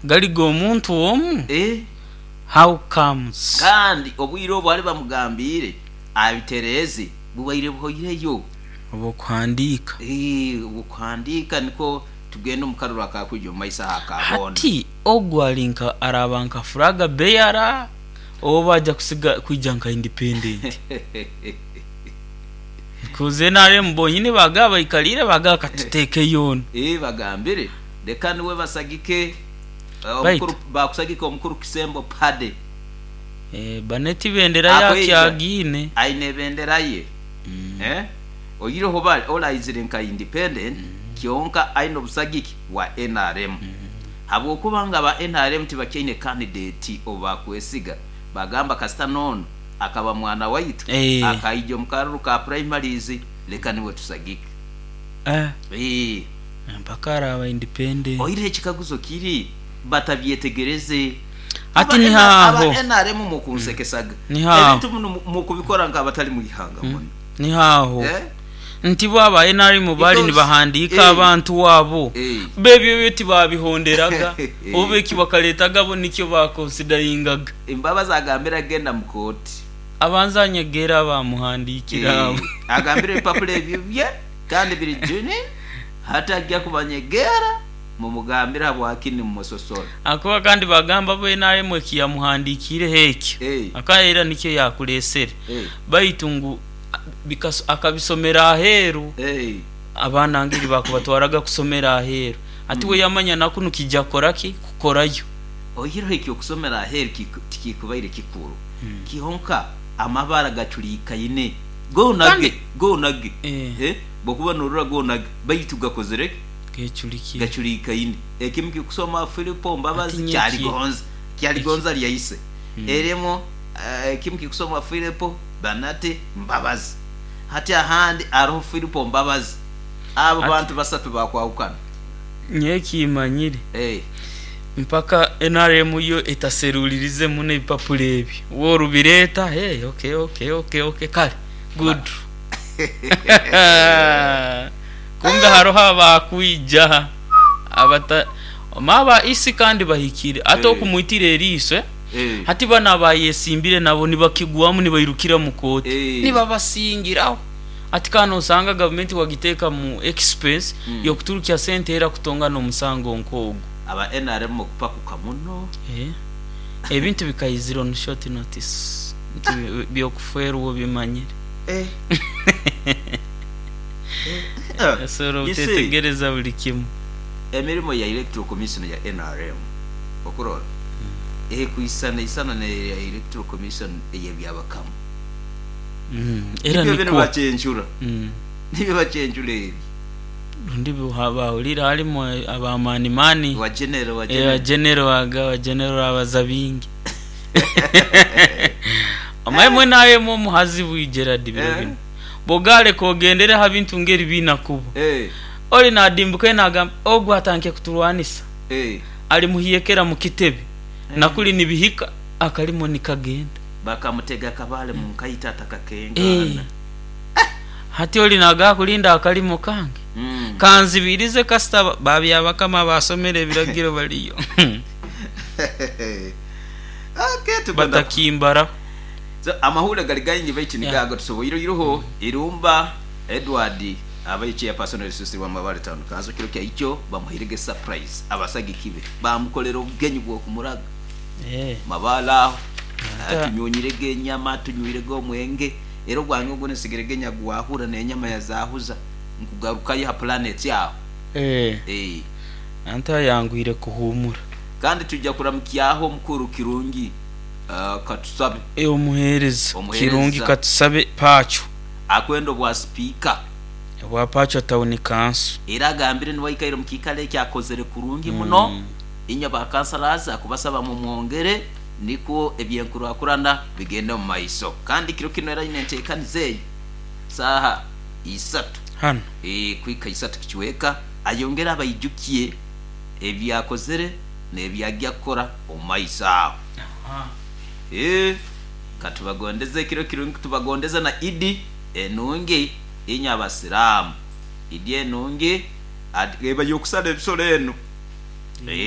Gali g'omuntu omu? Eh. How comes? Kandi obwire obu bali bamugambiire abitereeze bubaire buhoireyo. Obw'okuhandiika. Eeh, obw'okuhandiika nikwo tugende omu karuru akakwija omu maiso aho aka boona. Hati ogu ali nka araaba nka flag bearer oba aja kusiga kwija nka independent? Because nrm bonyini baagaba baikaliire baagaba katuteekeyo onu. Eeh, bagambire leka niwe basagike Baitu. omukuru, baakusagika omukuru Kisembo Paddy. Eeh, Baneti bendera ye Akwija akyagiine. aine ebendera ye. Eh, oihireho oba ole aizire nka independent kyonka aine obusagiki bwa nrm. Habwokuba nga aba nrm tibakyaine candidate ou bakwesiga, bagamba kasita n'ono akaba mwana waitu, akaija omu karuru ka primaries, leka niwe tusagike. Eeh. Mpaka araaba independent. Oihireho ekikaguzo kiri, batabyetegereze. Hati niho aho. Aba nrm mukunsekesaga. Niho aho. Ebintu binu mukubikora nk'abatali mu ihanga muno. Niho aho. Nti bo aba nrm baali nibahandiika abantu abo, bo ebyo byo tibaabihonderaga, oba eki bakaletaga bo nikyo baakonsidaringaga. Embabazi agambire agenda mu kooti. Abanze anyegere abaamuhandiikire abo. Agambire ebipapura ebyo bye kandi biri genuine, hati agya kubanyegera mumugambire habwaki nimumusosora. Ahakuba kandi bagamba bo nrm eki yamuhandiikiireho ekyo, akaba era nikyo yaakureesere, baitu ngu akabisomera aheeru. Abaana ngeri baakubatwaraga kusomera aheeru. Hati we yamanya na kunu kija kukora ki? Kukorayo. Oihireho eky'okusomera aheeru tikikubaire kikuru, kyonka amabara gacurikaine goona ge, goona ge. Bw'okuba noorora goona ge, baitu gakozire ki? Gacurikaine. Ekimu kikusoma Filipo Mbabazi Kyaligonza, Kyaligonza lya ise. Erimu ekimu kikusoma Filipo Banate Mbabazi. Hati ahandi haroho Filipo Mbabazi. Abo bantu basatu bakwahukana. Nyowe ekimanyire, mpaka nrm yo etaserulirize muno ebipapura ebyo. Bw'orubireeta, hey, okay, okay, okay, okay, kare, good. Kumbe haroho abakwija abata omanye aba EC kandi bahikire ate okumwitira eriiso eh, hati banu abayesimbire nabo nibakigwamu nibairukira mu kooti nibabasingiraho hati kandi nosanga gavumenti wagiteeka mu expense yokuturukya sente era kutongana omusango nk'ogu. Aba nrm mukupakuka muno. Ebintu bikaizira on short notice nti byokufwerwa obimanyire. Osobola You see, obutetegereza buli kimu. Emirimo ya Electoral Commission ya nrm okurora ekwisana isana neya Electoral Commission eyebyabakama. Era Nibyo binu nikwo. bacencura. Nibyo bacencura ebi. Rundi bahurire harimu abamani mani. Wa general, wa general. Wa general aga, wa general abaza bingi. Omanye mwena ayemu omuhazi bwi Gerald biro binu. Bw'ogaleka ogendere ha bintu ng'eri biinakubo. Oli naadimbuka eno agamba, Ogu atandike kuturwanisa. Ali muhiyekera mu kitebe, na kuli nibihika akalimo nikagenda. Bakamutega akabaale mu nkaito atakakengaana. Hati oli naagaba kulinda akalimo kange kanzibirize kasita ba Byabakama abaasomere ebiragiro baliyo batakimbaraho. So amahuure gari gaingi baitu nigo ago tusoboire oiroho Irumba Edward abaire chairperson orususu rwa Mabale Town Council kiro kya ikyo bamuhairege surprise abasagiki be bamukorera obugenyi bw'okumuraga Mabale aho tunyunyirege enyama tunywirege omwenge era ogwange ogu nsigirege nyagwahura n'enyama yazahuza nkugarukayo ha planet aho. Anti ayanguhire kuhuumura. Kandi twija kuramukyaho omukuru Kirungi Katusabe. Omuheereza Kirungi Katusabe Pacho. Akwenda obwa sipiika. Obwa Pacho Town Council. Era agambire niwe aikaire omu kiikaro eki akozere kurungi muno. Inywe ba councillors akubasaba mumwongere nikwo ebyenkurakurana bigende omu maiso. Kandi kiro kinu era aine enteekaniza eyo saaha isatu. Hanu. Kuhika isatu kicweka ayongere abaijukye ebi akozere n'ebi agya kukora omu maiso aho. Katubagondeze ekiro kirungi, tubagondeze na Idi enungi inywe Abasiraamu. Idi enungi eba y'okusara ebisoro enu.